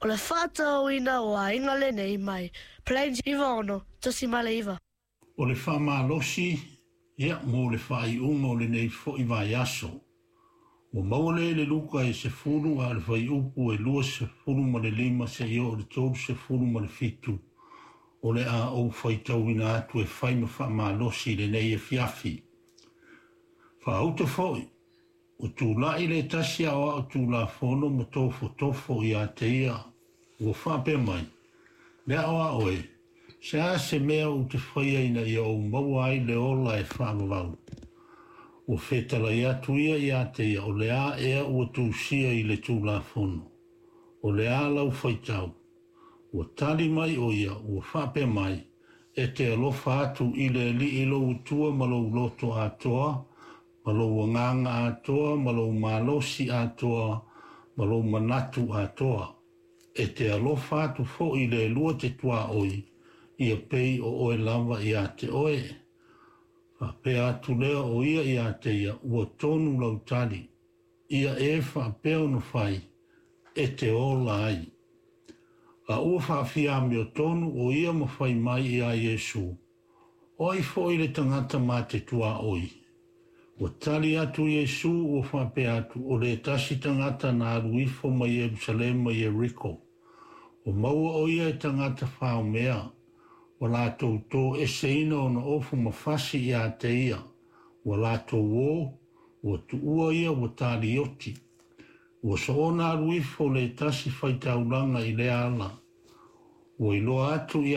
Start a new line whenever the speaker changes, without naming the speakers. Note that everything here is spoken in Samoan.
O le faatauina o aiga lenei mai Plains 96.9.
O le faamalosi, ia, mo le faaiuga o lenei foi vaiaso. Ua maua lea i le Luka e 10 a o le fuaiupu e 25 seia oo i le 37 o le a ou faitauina atu e fai ma faamalosi i lenei afiafi. Faauta foi, ua tulai le tasi aoao tulafono ma tofotofo ia te ia, ua faapea mai, Le aoao e, se a se mea ou te faia ina ia ou maua ai le ola e faavavau? Ua fetalai atu ia ia te ia, o le a ea ua tusia i le Tulafono? O le a lau faitau? Ua tali mai o ia, ua faapea mai, E te alofa atu i le Alii lou Atua ma lou loto atoa, ma lou agaga atoa, ma lou malosi atoa, ma lou manatu atoa. E te alofa atu foi i le lua te tuaoi, ia pei o oe lava ia te oe. Faapea atu lea o ia ia te ia, ua tonu lau tali. Ia e faapea ona fai, e te ola ai. A ua faafia amiotonu o ia ma fai mai ia Iesu, o ai foi le tagata ma te tuaoi? Ua tali atu Iesu ua faapea atu, o le tasi tagata na alu ifo mai Ierusalema i Ieriko. Ua maua o ia e tagata faomea, ua latou toeseina ona ofu ma fasi ia te ia, ua latou o, ua tuua ia ua talioti. Ua soona alu ifo le tasi faitaulaga i lea ala. Ua iloa atu ia